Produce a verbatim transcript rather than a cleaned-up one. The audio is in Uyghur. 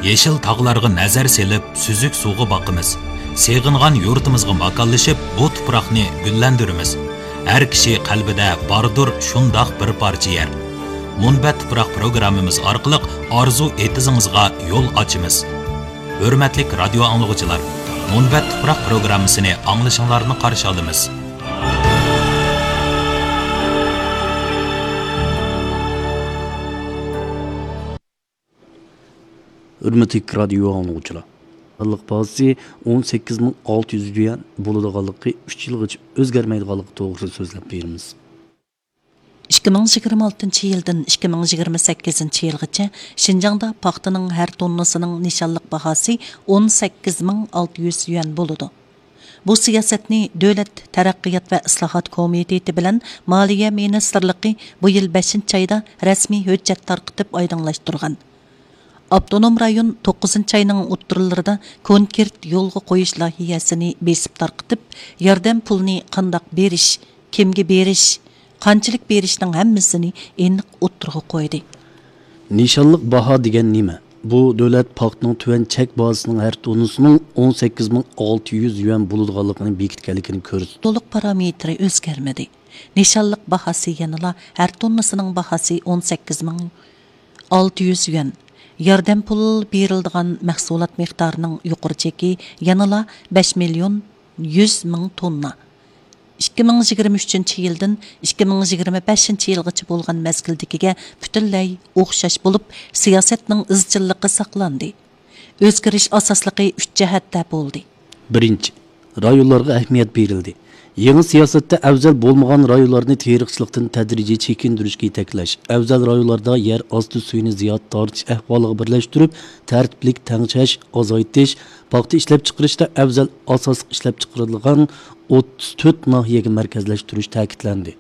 يېشىل تاغلارغا نەزەر سېلىپ، سۈزۈك سۇغا باقىمىز. سېغىنغان يۇرتىمىزغا ماكانلىشىپ، بۇ تۇپراقنى گۈللەندۈرىمىز. ھەر كىشى قەلبىدە باردۇر شۇنداق بىر پارچە يەر. مۇنبەت تۇپراق پروگراممىمىز ئارقىلىق ئارزۇ ئېتىزىڭىزغا يول ئاچىمىز. ھۆرمەتلىك رادىيو ئاڭلىغۇچىلار، مۇنبەت تۇپراق پروگراممىسىنى ئاڭلىشىڭلارنى قارشى ئالىمىز. ھۆرمەتلىك رادىيو ئاڭلىغۇچىلار، خانلىق باھاسى ئون سەككىز مىڭ ئالتە يۈز يۈەن بولىدىغانلىقى، ئۈچ يىلغىچە ئۆزگەرمەيدىغانلىقى توغرىسىدا سۆزلەپ بېرىمىز. ئىككى مىڭ يىگىرمە ئالتىنچى يىلدىن ئىككى مىڭ يىگىرمە سەككىزىنچى يىلغىچە شىنجاڭدا پاختىنىڭ ھەر توننىسىنىڭ نىشانلىق باھاسى ئون سەككىز مىڭ ئالتە يۈز يۈەن بولىدۇ. بۇ سىياسەتنى دۆلەت تەرەققىيات ۋە ئىسلاھات كومىتېتى بىلەن مالىيە مىنىستىرلىقى بۇ يىل بەشىنچى ئايدا رەسمىي ھۆججەت تارقىتىپ ئايدىڭلاشتۇرغان. ئاپتونوم رايون توققۇزىنچى ئاينىڭ ئوتتۇرىلىرىدا كونكرېت يولغا قويۇش لايىھەسىنى بېسىپ تارقىتىپ، ياردەم پۇلىنى قانداق بېرىش، كىمگە بېرىش، قانچىلىك بېرىشنىڭ ھەممىسىنى ئېنىق ئوتتۇرىغا قويدى. نىشانلىق باھا دېگەن نېمە؟ بۇ دۆلەت پاختىنىڭ تۆۋەن چەك بازىسىنىڭ ھەر توننىسىنىڭ ئون سەككىز مىڭ ئالتە يۈز يۈەن بولىدىغانلىقىنى بېكىتكەنلىكىنى كۆرسىتىدۇ. تولۇق پارامېتىرى ئۆزگەرمىدى. نىشانلىق باھاسى يەنىلا ھەر توننىسىنىڭ باھاسى ئون سەككىز مىڭ ئالتە يۈز يۈەن. ياردەم پۇل بېرىلىدىغان مەھسۇلات مىقدارىنىڭ يۇقىرى چېكى يەنىلا بەش مىليون يۈز مىڭ توننا. ئىككى مىڭ يىگىرمە ئۈچىنچى يىلدىن ئىككى مىڭ يىگىرمە بەشىنچى يىلغىچە بولغان مەزگىلدىكىگە پۈتۈنلەي ئوخشاش بولۇپ، سىياسەتنىڭ ئىزچىللىقى ساقلاندى. ئۆزگىرىش ئاساسلىقى ئۈچ جەھەتتە بولدى. بىرىنچى، رايونلارغا ئەھمىيەت بېرىلدى. يېڭى سىياسەتتە ئەۋزەل بولمىغان رايونلارنى تېرىقچىلىقتىن تەدرىجىي چېكىندۈرۈشكە يېتەكلەش، ئەۋزەل رايونلاردا يەر ئاستى سۈيىنى زىيادە تارتىش ئەھۋالىغا بىرلەشتۈرۈپ، تەرتىپلىك تەڭشەش، ئازايتىش، پاختا ئىشلەپچىقىرىشتا ئەۋزەل ئاساسلىق ئىشلەپچىقىرىدىغان ئوتتۇز تۆت ناھىيەگە مەركەزلەشتۈرۈش تەكىتلەندى.